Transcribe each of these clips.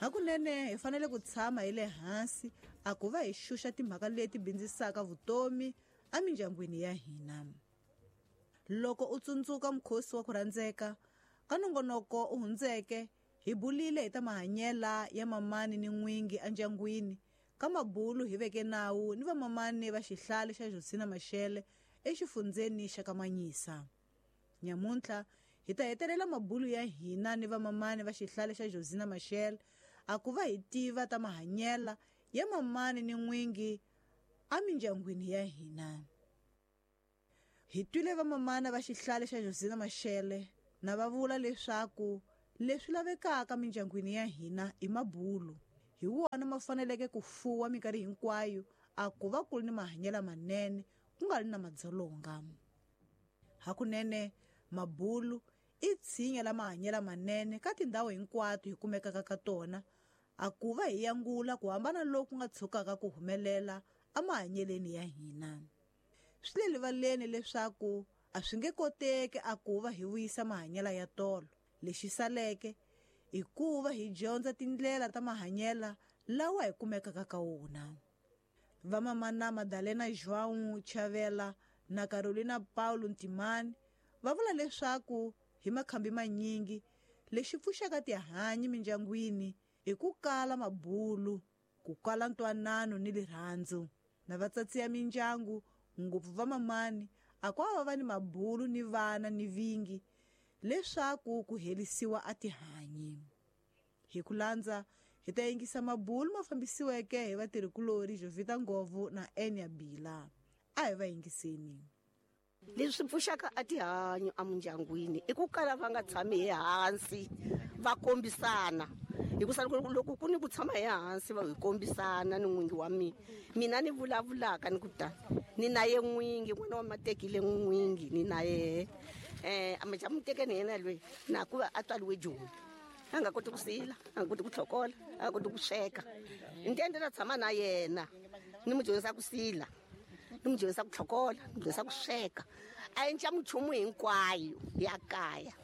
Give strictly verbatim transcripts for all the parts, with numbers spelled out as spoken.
Hakunene hi fanele ku tshama hi le hansi a ku va hi xuxa timhaka leti bindzisaka vutomi emindyangwini ya hina. Loko u tsundzuka mukhosi wa ku rhandzeka ka nongonoko u hundzeke, hi bulile hi ta mahanyela ya mamani ni n'wingi endyangwini. Ka mabulu hi veke nawu ni vamamani va xihlale xa Josina Machel exifundzeni xa Kamanyisa. Nyamuntlha hi ta hetelela mabulu ya hina ni vamamani va xihlale xa Josina Machel a ku va hi tiva ta mahanyela ya mamani ni n'wingi emindyangwini ya hina. Hi twile vamamana va xihlale xa Josina Machel na va vula leswaku leswi lavekaka mindyangwini ya hina i mabulu. Hi wona ma faneleke ku fuwa minkarhi hinkwayo a ku va ku ri ni mahanyelo manene ku nga ri na madzolonga. Hakunene mabulu i tshinya la mahanyelo manene ka tindhawu hinkwato hi kumekaka ka tona, a ku va hi yangula ku hambana loku nga tshukaka ku humelela emahanyeleni ya hina. Swi le rivaleni leswaku a swi nge koteki a ku va hi vuyisa mahanyelo ya tolo. Lexi saleke i ku va hi dyondza tindlela ta mahanyelo lawa hi kumekaka ka wona. Vamamana Madalena João Chavela na Carolina Paulo Ntimani va vula leswaku hi makhambi manyingi lexi pfuxaka tihanyi mindyangwini i ku kala mabulu, ku kala ntwanano ni rirhandzu. Na vatsatsi ya mindyangu ngopfu vamamani a ku va va ni mabulu ni vana ni vingi leswaku ku herisiwa a tihanyi. Hi ku landza hi ta yingisa mabulu ma fambisiweke hi vatirhikulori Jovita Ngovu na Enya Bila. A hi va yingiseni. Leswi pfuxaka a tihanyi emindyangwini i ku kala va nga tshami ehansi va kombisana. Hikusa loko ku ni ku tshama ehansi va hi kombisana ni n'wingi wa mina, mina ni vulavulaka ni ku ta ni na ye n'wingi, n'wana wa matekile n'wingi ni na yehe eh a mutekeni yena loyi na ku va a tswariwe Joni, a nga koti ku sila, a nga koti ku tlhokola, a nga koti ku sweka. Ni ta tshama na yena ni mu dyondzisa ku sila, ni mu dyondzisa ku tlhokola, ni mu dyondzisa ku sweka, a endla minchumu hinkwayo ya kaya.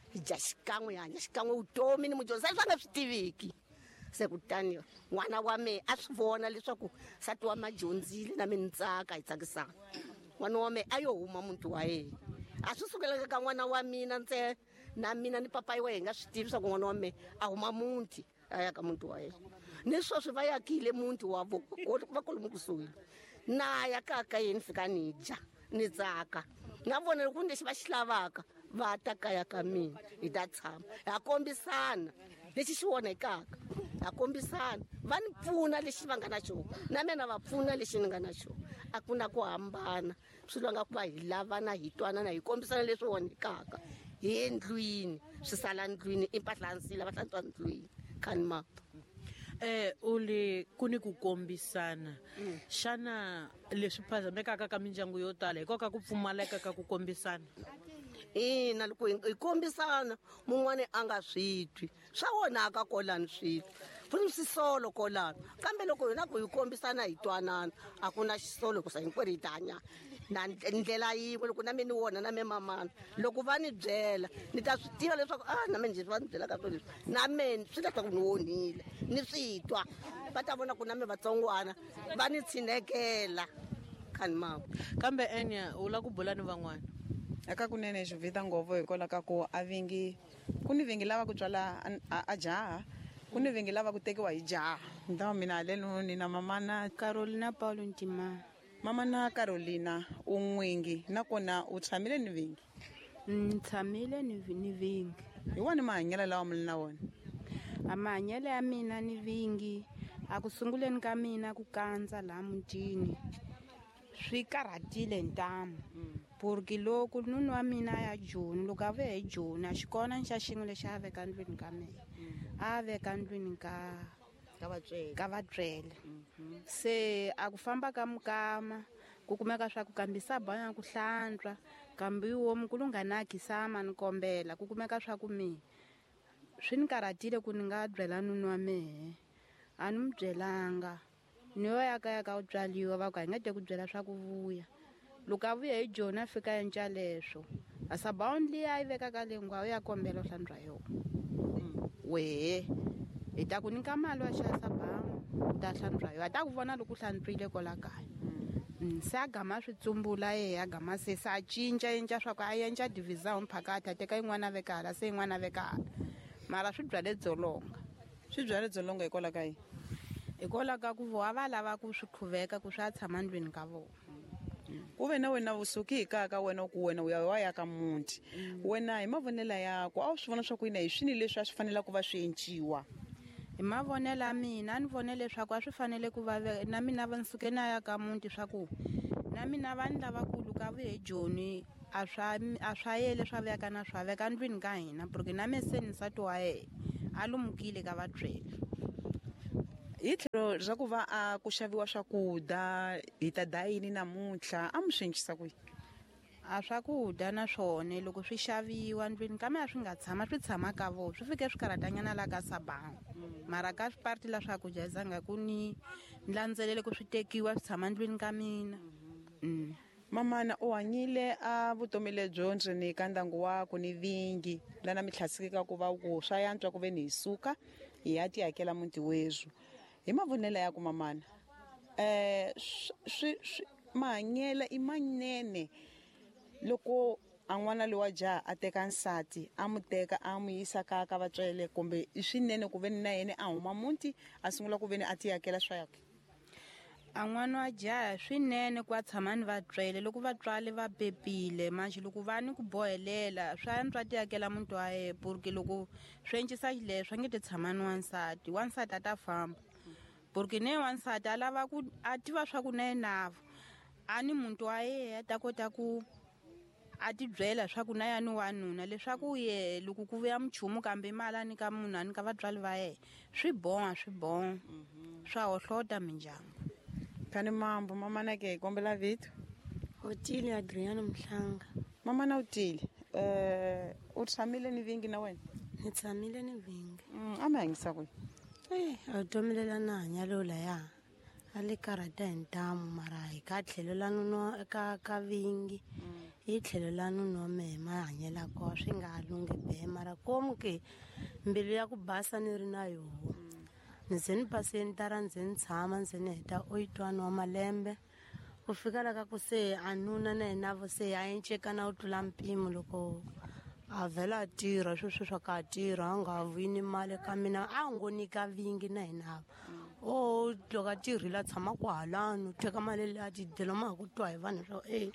Hi dya xikan'we, hi hanya xikan'we vutomi, ni mu dyondzisa leswi a nga swi tiviki. Se kutani n'wana wa mehe a swi vona leswaku nsati wa ma dyondzile na mina ni tsaka, hi tsakisana. N'wana wa mehe a yo huma muti wa yena, a swi sukelaka ka n'wana wa mina ntsena, na mina ni papayi wa hi nga swi tivi swa ku n'wana wa mehe a huma muti a ya ka muti wa yena. Ni sweswi va yakile muti wa vo va kolomu kusuhi na ya kaya ka yena, fika ni dya ni tsaka na vona loko lexi va xi lavaka va ta kaya ka mina, hi ta tshama ha kombisana lexi xi onhekaka, ha kombisana va ni pfuna lexi va nga na xona, na mina va pfuna lexi ni nga na xona. A ku na ku hambana, swi lwanga ku va hi lavana, hi twanana, hi kombisana leswi onhekaka hi endlwini, swi sala ndlwini, i mpahla ya nsila va hlantswa ndlwini khani mapa. Eh uli ku ni ku kombisana. Xana leswi phazamekaka ka mindyangu yo tala hikoka ku pfumaleka ka ku kombisana? Ina, loko hi kombisana mun'wani a nga swi twi, swa onhaka kolani swilo, ku ni swisolo kolani. Kambe loko hina ku hi kombisana hi twanana, a ku na xisolo hikusa hinkwerhu hi ta hanya na ndlela yin'we. Loko na mina ni wona na me mamana, loko va ni byela ni ta swi tiva leswaku a na mina leswi va ni byelaka swona leswi na mina swi ta ku ni onhile, ni swi twa. Va ta vona ku na me vatsongwana va ni tshinekela khani mama. Kambe Enya u lava ku bula ni van'wana? Eka kunene Jovita Ngovu hikwalaho ka ku a vingi ku ni vingi lava ku tswala a jaha, ku ni vingi lava ku tekiwa hi jaha. Ntawa mina haleno ni na mamana Carolina Paulo Ntimani. Mamana Carolina u n'wingi nakona u tshamile ni vingi? Ni tshamile ni ni vingi. Hi wani mahanyelo lawa mi na wona? A mahanyelo ya mina ni vingi a ku sunguleni ka mina ku kandza laha mutini swi karhatile ntamu. Porque loko nuna wa mina ya Joni, loko a vuya hi Joni a xi kona xa xin'we lexi a veka ndlwini ka mina, a veka ndlwini ka ka vatswele, ka vatswele. Se a ku famba ka mukama ku kumeka swa ku kambisa banya ku hlantswa, kambe wo mukulu nga na khisama ni kombela ku kumeka swa ku mina swi ni karhatile ku ni nga byela nuna wa mehe, a ni mu byelanga. Ni yo ya kaya ka u tswaliwa va ku a hi nga te ku byela swa ku vuya. Loko a vuya hi Joni a fika enca leswo, a sabawuni liya a yi vekaka le ngwa u ya kombela u hlantswa yona. Wehe Hi ta ku nyika mali wa xava sabawu u ta hlantswa yo a ta ku vona loko u hlantswile kwala kaya. Se a gama swi tsumbula yehe a gama se se a cinca cinca swa ku a endla division phakathi a teka yin'wana a veka hala se yin'wana a veka hala mara swi byale dzolonga. Swi byale dzolonga hikwalaho ka yini? Hikwalaho ka ku voha va lava ku swi qhuveka ku swi a tshama ndlwini ka vona. Ku ve na wena vusuki hi kaya ka wena ku wena u ya wa ya ka muti wena hi mavonelo yakho a wu swi vona swa ku yini hi swini leswi a swi fanele ku va swi enciwa? Hi mavonelo ya mina a ni vone leswaku a swi fanele ku va na mina va nsuke na ya ka muti swa ku na mina vanhu lavakulu ka vuye Joni a swa a swa yele swa veka na swa veka ndlwini ka hina porque na me se ni nsati wa yena a lumukile ka vatswele. Hi tlhelo ra ku va a ku xaviwa swakudya hi ta dayini namuntlha a mi swi encisa ku yini? A swakudya na swona loko swi xaviwa ndlwini kambe a swi nga tshama swi tshama ka vona swi fike swi karhatanyana la ka sabawu mara ka parti la swakudya hi zanga ku ni landzelele ku swi tekiwa swi tshama ndlwini ka mina. Mm. Mamana u hanyile a vutomi lebyo ndzeni ka ndyangu wako ni vingi lana mi tlhasikeka ku va ku swa yantswa ku ve ni hi suka hi ya ti hakela muti wezwu. Hi mavonelo ya ku mamana eh swi mahanyelo i manene loko a n'wana lowa jaha a teka nsati a mu teka a mu yisa ka ka vatswele kumbe i swinene ku ve ni na yena a huma muti a sungula ku ve ni a ti hakela swa yakhe? A n'wana wa jaha swinene ku a tshama ni vatswele loko vatswali va pepile manje loko va ni ku bohelela swa antswa ti hakela muti wa yena porque loko swi encisa xileswo a nge ti tshama ni wansati wansati a ta famba porque ne wansati a lava ku a tiva swa ku na yena a ni muntu wa yena a ta kota ku a ti byela swa ku na ya ni wanuna leswaku ye loko ku vuya minchumu kambe mali a nyika munhu a nyika vatswari va yena swi boha swi boha swa hohlota mindyangu. Kani mambo mamana ke hi kombela vito? Otile Adriana Mhlanga. Mamana Otile eh u tshamile ni vingi na wena? Ni tshamile ni vingi. Mm, a mi hanyisa ku yini? Eh a vutomi lela na hanya lo laya a le karhata hi ntamu mara hi ka tlhelo la nuno ka ka vingi hi tlhelo la nuno wa mehe mahanyelo kona swi nga lunghi be mara komu ke mbilu ya ku basa ni ri na yoho ni ze ni paseni tara ndze ni tshama ndze ni heta eight-one wa malembe ku fika la ka ku se a nuna na yena vo se a encekana u tlula mpimo loko a vhela a tirha sweswi swa ka a tirha a nga vuyi ni mali ka mina a ngo nyika vingi na hina o loko a tirhile a tshama kwahalano u teka mali leyi a tidyela ma ha ku twa hi vanhu swa e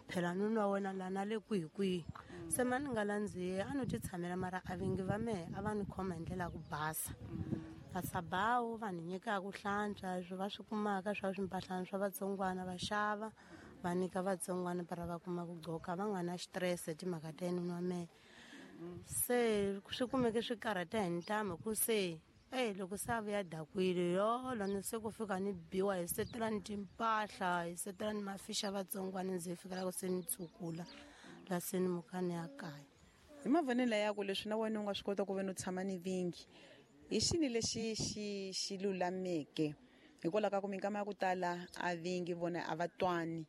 phela nuna wa wena lana le kwihi kwihi se ma ni nga landzihi a no ti tshamela mara a vingi va mehe a va ni khoma hi ndlela ya ku basa a sabawu va ni nyikaka ku hlantswa leswi va swi kumaka swa swimpahlana swa vatsongwana va xava va nyika vatsongwana para va kuma ku gqoka va nga na xitirese timhaka ta yena wa mehe se swi kumeke swi karhata hi ntamu ku se e loko se a vuya dakwile yolo ni se ku fika ni biwa hi setela ni timpahla hi setela ni mafixa vatsongwana ndzi fika la ku se ni tsukula la se ni muka ni ya kaya. Hi mavonelo ya ku leswi na wena u nga swi kota ku ve ni u tshama ni vingi hi xini lexi xi xi lulameke hikwalaho ka ku minkama ya ku tala a vingi vona a va twani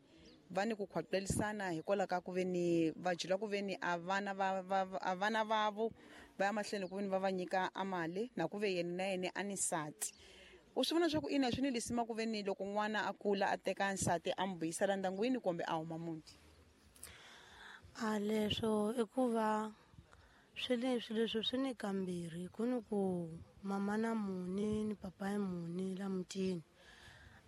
va ni ku khwaqelisana hikwalaho ka ku ve ni va jula ku ve ni a vana va a vana vavo va ya mahlweni ku ve ni va va nyika a mali na ku ve yena na yena a ni nsati. U swi vona swa ku ina swi ni lisima ku ve ni loko n'wana a kula a teka nsati a n'wi vuyisela ndyangwini kumbe a huma muti? A leswo i ku va swi leswi leswi swi ni kambirhi ku ni ku mama na muni ni papa ya muni la mutini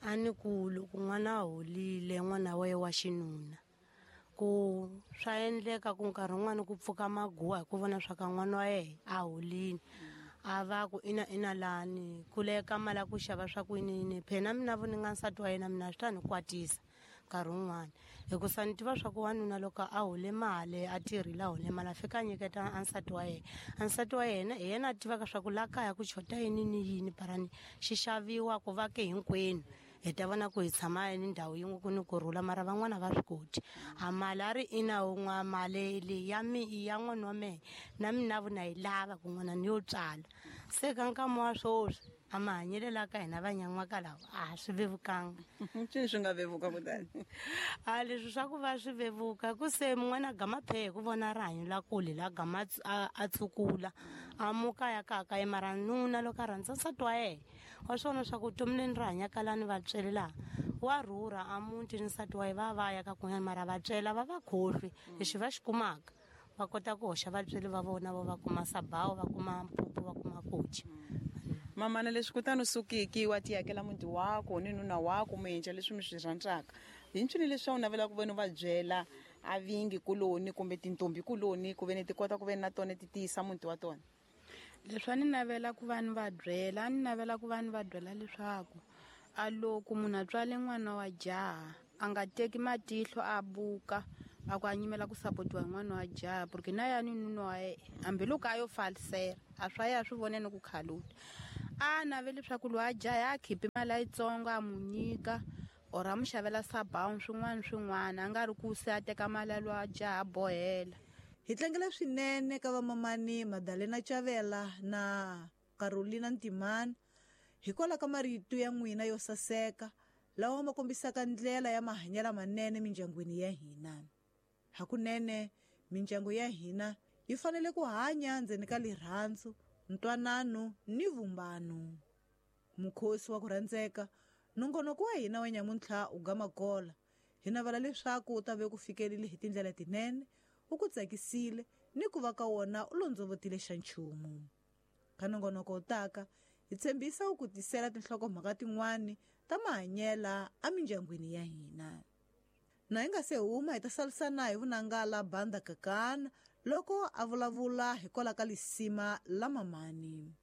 a ni ku loko n'wana a holile n'wana wa yena wa xinuna ku swa endleka ku nkarhi wun'wani ku pfuka maguwa hi ku vona swa ka n'wana wa yena a holile a va ku ina ina lani ku leka mali ya ku xava swa ku yini yini phela mina vo ni nga nsati wa yena mina swi ta ni kwatisa nkarhi wun'wani hikusa ni tiva swa ku wanuna loko a hole mali a tirhile a hole mali a fika a nyiketa a nsati wa yena a nsati wa yena hi yena a tivaka swa ku la kaya ku chota yini ni yini parani xi xaviwa ku va ke hinkwenu hi ta vona ku hi tshama ni ndhawu yin'we ku ni kurhula mara van'wana va swi koti a mali a ri ina wun'we mali leyi ya mi ya n'wana wa mehe na mina vo na yi lava ku n'wana ni yo tswala Se ka nkama wa swoswi a mahanyelo la ka hina vanyan'waka lawa a swi vevukanga. Ncini swi nga vevuka kutani? A leswi swa ku va swi vevuka ku se mun'wana gama phehe ku vona rihanyo la kule la gama a tsukula a muka ya kaka ye mara nuna loko a rhandza nsati wa yena wa swona swa ku vutomi leni ri hanyaka lani va tswele laha wa rhurha a muti ni nsati wa ye va va ya ka kun'wana mara va tswela va va khohlwi lexi va xi kumaka va kota ku hoxa vatsweri va vona vo va kuma sabawu va kuma mpupu va kuma kochi. Mamana leswi kutani u sukiki wa ti yakela muti wako ni nuna wako mi endla leswi mi swi rhandzaka hi ncini leswi a wu navelaka ku veni u va byela a vingi kuloni kumbe tintombi kuloni ku veni ti kota ku veni na tona ti tiyisa muti wa tona? Leswi a ni navela ku va ni va byela a ni navela ku va ni va byela leswaku a loko munhu a tswale n'wana wa jaha a nga teki matihlo a buka a ku a nyimela ku sapotiwa hi n'wana wa jaha porque na yani nuna wa yena hambiloko a yo falisela a swa ya swi vone ni ku khaluta a naveli leswaku loyi a jaha a khipi mali yitsongo a mu nyika or a mu xavela sabawu swin'wana swin'wana a nga ri ku se a teka mali ya loyi a jaha a bohela. Hi tlangela swinene ka vamamani Madalena Chavela na Carolina Ntimani hikwalaho ka marito ya n'wina yo saseka lawa ma kombisaka ndlela ya mahanyelo manene mindyangwini ya hina. Hakunene mindyangu ya hina yi fanele ku hanya ndzeni ka rirhandzu, ntwanano ni vumbano. Mukhosi wa ku rhandzeka, nongonoko wa hina wa nyamuntlha u gama gola. Hi navela leswaku u ta ve ku fikerile hi tindlela tinene, u ku tsakisile ni ku va ka wona u londzovotile xa nchumu. Ka nongonoko wu taka, hi tshembisa u ku tisela tinhlokomhaka tin'wani ta mahanyela emindyangwini ya hina. Na hi nga se huma hi ta salisana hi vunangala Banda Kakana loko a vulavula hikwalaho ka lisima la mamani.